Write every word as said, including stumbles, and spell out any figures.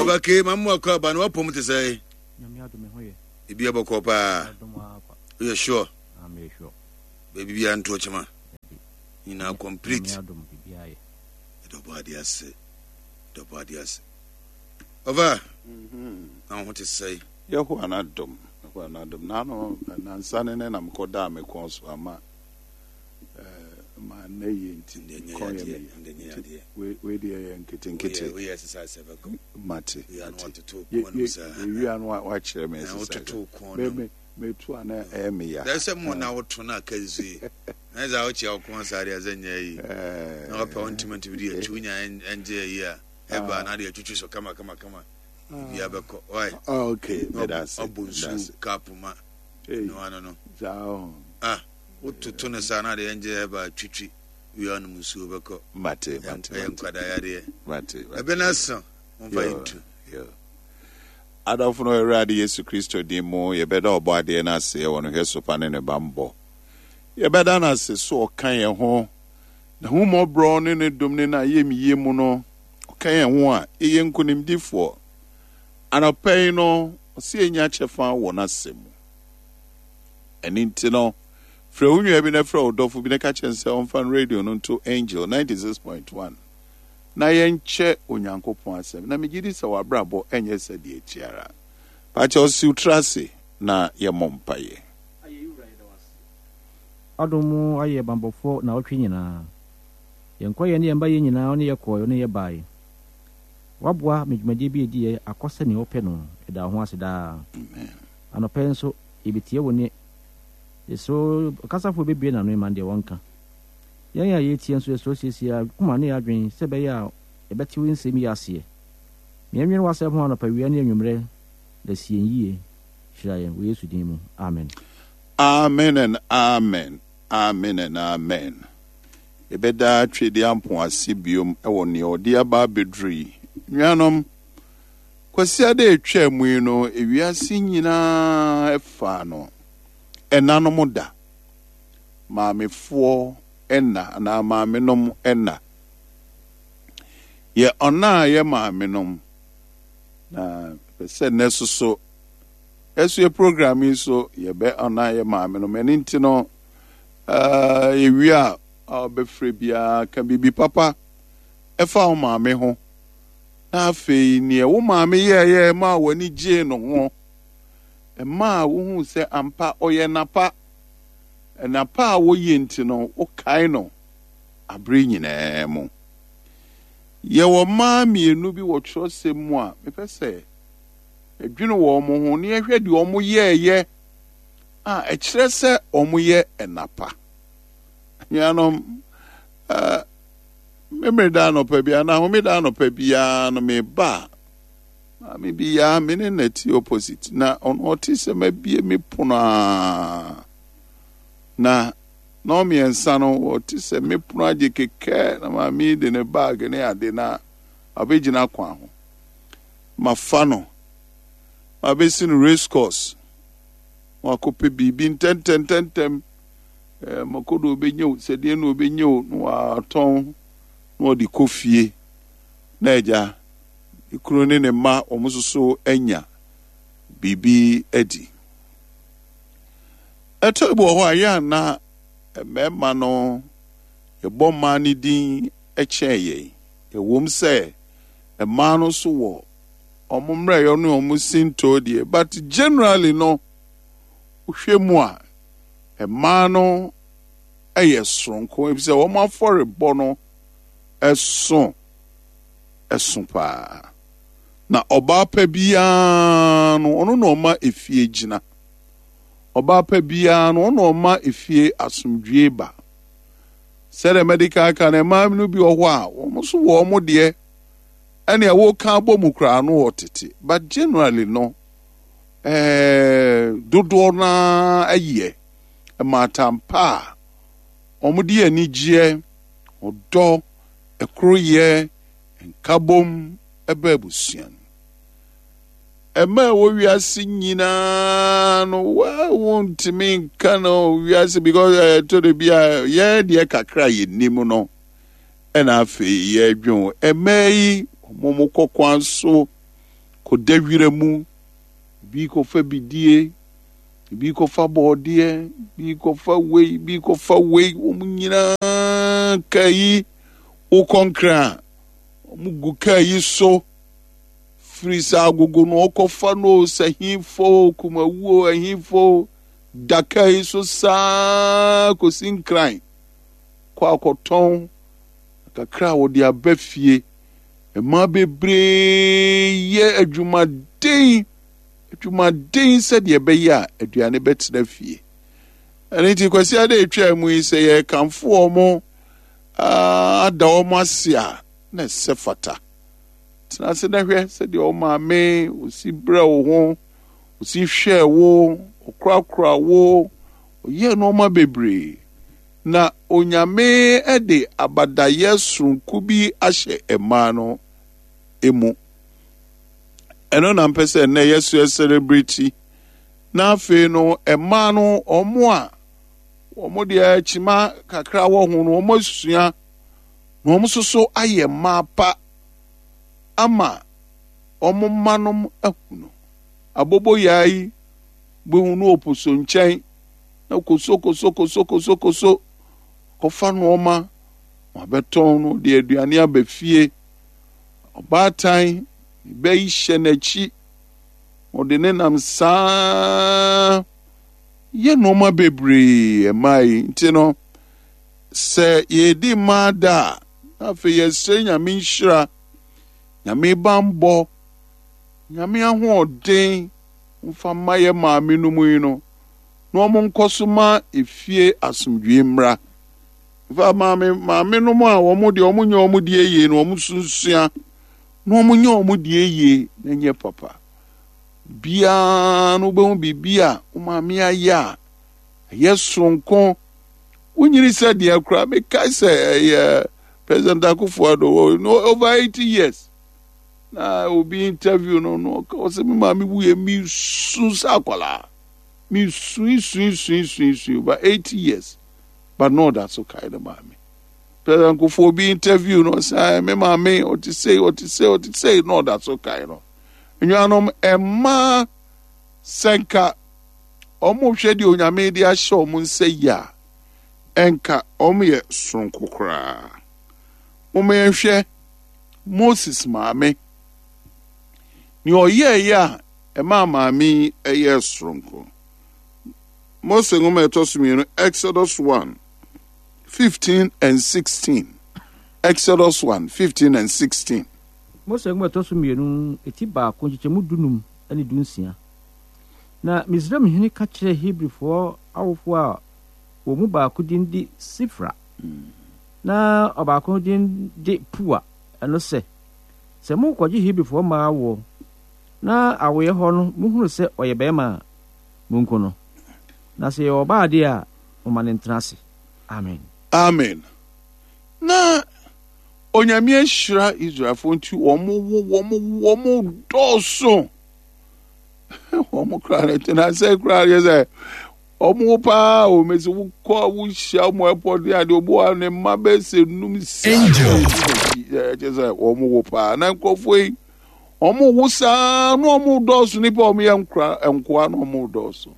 Ɔbɛke ma mmoa kɔ aba no wapɔm te sɛ ebi abɔkɔ paa. Woyɛ sure? Baabi biara nto kyema nyinaa complete. Ɛdɔbɔ ade ase, dɔbɔ ade ase. Ɔfa na wo ho te sɛ? Yehowa n'adom, Yehowa n'adom. N'ano nansa ne ne nam kɔdaa me kɔn so ama ɛɛ ma nnɛ yie nti kɔn yɛ me nti wei deɛ yɛ nketenkete. Woyɛ exercise bɛkɔ. Mate, mate. Yɛwia no wakyerɛ me exercise. Me metu a na ɛyɛ me ya. Dɛ sɛ mo na woto na aka nsu yi. Na ɛsɛ a wokyia wo kɔn saa deɛ sɛ nyɛ yi. Na wapɛ wo ntoma ntumi de atu nya ɛngye ayi a ɛba na de atwitwi so kama kama kama. Biribiara bɛkɔ. Why? Okay, medase. Ɔbɔ nsu cup ma. No ano no. Saa. Ah, wototo no saa na de ɛngye ɛba twitwi. Wia no nsuo bɛkɔ. Mate, mate. Ɛyɛ nkwadaa yadeɛ. Mate. Ɛbɛ na so. Momfa yɛntu. Adɔfo no, Awurade Yesu Kristo din mu, yɛbɛda ɔbɔ adeɛ no ase wɔ no hwɛ pa ne ne bammɔ. Yɛbɛda no ase so ɔka yɛn ho. Na hummɔborɔ ne ne dom ne n'ayamyie mu no, ɔka yɛn ho a yɛyɛ nkonimdifoɔ. Anɔpa yi no, ɔsɛ yɛnya kyɛfa wɔ n'asɛm mu. Ɛno nti no, frɛ wo nua bi na frɛ wo dɔfo bi na ka kyerɛ no sɛ ɔmfa no radio no nto Angel ninety-six point one na yɛnkyɛ Onyankopɔn asɛm. Na megye di sɛ w'abrabɔ ɛnyɛ sɛ deɛ akyi ara. Pakyɛ ɔsiw tra ase na yɛmmɔ mpaeɛ. Adom mu ayɛ bambɔfoɔ na ɔtwe nyinaa. Yɛnkɔ yɛn ne yɛn ba yɛn nyinaa, ɔne yɛ kɔɔ, ɔne yɛ baeɛ. Waboa me dwumadie bi edi yɛ akɔ sɛnea ɔpɛ no, ɛda ho ase daa. Anɔpɛ nso, yɛbɛtie wo ne. Yɛsrɛ ɔkasafoɔ bɛbue n'ano ma deɛ wɔnka. Yɛn a yɛtie nso, yɛsrɛ siesie akoma ne adwene sɛ ɛbɛyɛ a yɛbɛte wo nsɛm yi aseɛ. Yɛnwene w'asɛm ho anɔpa, wia ne anwummerɛ, na si yɛn yie. Hyira yɛn wɔ Yesu din mu. Amen. Amen and amen. Amen and amen. Yɛbɛda Twɛdi Ampo ase biom ɛwɔ nea ɔde aba abɛduru yi. Nuanom, Kwasiada etwa mu yi no, ewiase nyinaa ɛfa no ɛnanom da. Maamefoɔ ɛna anaa maamenom ɛna. Yɛ ɔna a yɛ maamenom. Na pɛ sɛ nnɛ soso ɛso yɛ program yi so yɛbɛ ɔna yɛ maamenom. Ɛno nti no, ɛɛ yɛwie a a ɔbɛfrɛ biara ka biribi papa ɛfa wo maame ho, na afei neɛ wo maame yɛɛyɛ ma a w'ani gyee no ho, ɛma a wohu sɛ ampa ɔyɛ napa napa a wɔyɛ nti no wokae no abere nyinaa mu. Yɛwɔ mmaa mmienu bi wɔ twerɛsɛm mu a mepɛ sɛ ɛdwene wɔn mo ho na yɛhwɛ deɛ wɔn yɛɛyɛ a ɛkyerɛ sɛ wɔn yɛ ɛnapa. Nuanom, ɛɛ mmemmere da anɔpa bi anaa homeda anɔpa biara no, meba a maame bi yaa me ne nati opposite na ɔno ɔte sɛ mabie me pono a na na ɔmmiɛnsa no ɔte sɛ me pono agye kɛkɛ, na maame yi de ne bag ne ade na abɛgyina kwan ho. Mafa no mabɛsi no race course, wakɔpɛ biribi ntɛntɛntɛntɛm, ɛɛ makodo obɛnya o, sɛdeɛ na obɛnya o, na watɔn na ɔde kɔ fie, na agya ne kunu ne ne mma wɔn nso so anya biribi adi. Ɛtɔ bi wɔ hɔ a yɛ ana mmarima no yɛbɔ mmaa no din kyɛn yɛn. Ɛwom sɛ mmaa no nso wɔ wɔn mmerɛyɛ ne wɔn sintɔ deɛ, but generally no, wohwɛ mu a mmaa no yɛ soronko efisɛ wɔn afɔrebɔ no ɛso ɛso paa. Na ɔbaa pa biara no, ɔno na ɔma efie gyina. Ɔbaa pa biara no, ɔno na ɔma efie asomdwie ba. Sɛdeɛ medical ka no, mmaa no bi wɔ hɔ a wɔn nso wɔ wɔn deɛ ɛnea wɔka abɔ mu koraa no wɔ tete, but generally no, ɛɛ dodoɔ naa yɛ mmaatampa a wɔn de anigyeɛ, ɔdɔ, ɛkoroyɛ, nkabom ɛbɛ abusua no. Ɛma ɛwɔ wiase nyinaa no, wɔntumi nka no wiase because ɛtɔ de bi a yɛn deɛ kakra yɛ nim no, ɛna afei yɛdwen ɛmɛ yi wɔn mo kɔ kwan so. kɔda wira mu, bi kɔfa bidie, bi kɔfa bɔɔdeɛ, bi kɔfa wei, bi kɔfa wei, wɔn nyinaa kaa yi wokɔ Nkran a, wɔn gu kaa yi so firi sɛ Agogo no ɔkɔfa no sɛ hemfo, Kumawuo, ɛhemfo, da kaa yi so saa kɔsi Nkran kɔ akɔtɔn kakra a wɔde aba fie. Mmaa bebree yɛ adwumaden, adwumaden sɛdeɛ ɛbɛyɛ a aduane bɛtena fie. Ɛno nti Kwasi Ade atwa mu yi, sɛ yɛrekamfo wɔn ada wɔn ase a, na ɛsɛ fata. Tena ase na hwɛ sɛdeɛ wo maame osi brɛ wo ho, osi hwɛ wo, ɔkorakora wo, ɔyɛ nneɛma bebree. Na Onyame de abadayɛ soronko bi ahyɛ mmaa no mu. Ɛno na mpɛ sɛ nnɛ yɛso yɛ celebrate. Na afei no mmaa no, wɔn a wɔn deɛ kyima kakra wɔ ho no, wɔn asua na wɔn nso so ayɛ mmaa pa ama wɔn mma nom ahunu. Aboboyaa yi bɛhu no wɔ poso nkyɛn na koso koso koso koso koso kɔfa nneɛma wabɛtɔn no de aduane aba fie. Ɔbaatan ne ba yi hyɛ n'akyi, ɔde ne nam saa yɛ nneɛma bebree mmaa yi. Nti no sɛ yɛredi mmaa da a, na afei yɛsrɛ Nyame nhyira, Nyame bammɔ, Nyame ahoɔden mfa mma yɛ maame no mu yi no, na wɔn nkɔ so ma efie asomdwoe mmra. Mfa maame maame nom a wɔn deɛ wɔn nyɛ wɔn deɛ yie no, wɔn sunsua na wɔn nyɛ wɔn deɛ yie na nyɛ papa. Biara no wobɛhu biribi a wo maame ayɛ a ɛyɛ soronko. Wonyini sɛ deɛ koraa mekae sɛ ɛyɛ President Akufo-Addo no over eighty years na obi interview no no ɔsɛ me maame wuiɛ mesu sɛ akwadaa, mesui sui sui sui sui over eighty years, but no ɔda so kae ne maame. President Kufuor obi interview no ɔsɛ me maame ɔte sei ɔte sei ɔte sei na ɔda so kae no. Nnuanom mmaa, sɛ nka wɔn hwɛ deɛ Onyame de ahyɛ wɔn nsa yi a, ɛnka wɔn yɛ soronko koraa. Wɔn yɛnhwɛ Moses maame, nea ɔyɛɛyɛ a ɛmaa maame yi ɛyɛ soronko. Mose nwoma ɛtɔ so mmienu, Exodus one fifteen and sixteen. Exodus one fifteen and sixteen. Mose nwoma ɛtɔ so mmienu, eti baako, nkyekyɛmu dunum ne dunsia. Na Misraim hene ka kyerɛɛ Hebrifoɔ awofoɔ a wɔn mu baako din de Sifra na ɔbaako din de Pua no sɛ, Sɛ morekɔgye Hebrifoɔ mmaa awoɔ na awoeɛ hɔ no mohunu sɛ ɔyɛ barima a, monku no. Na sɛ ɛyɛ ɔbaa deɛ a, momma no ntena ase. Amen. Amen. Na Onyame ahyira Israelfoɔ nti wɔn wo wɔn wo wɔn dɔɔso. Wɔn koraa no tena sɛ koraa yɛ sɛ wɔn wo paa o mesi wokɔ wohyia wɔn airport ne adeɛ obi wa ne mma bɛsɛ num si ɛkyɛ sɛ wɔn wo paa na nkurɔfoɔ yi wɔn wo saa na wɔn dɔɔso nipa wɔn yɛ nkora nkoa na wɔn dɔɔso.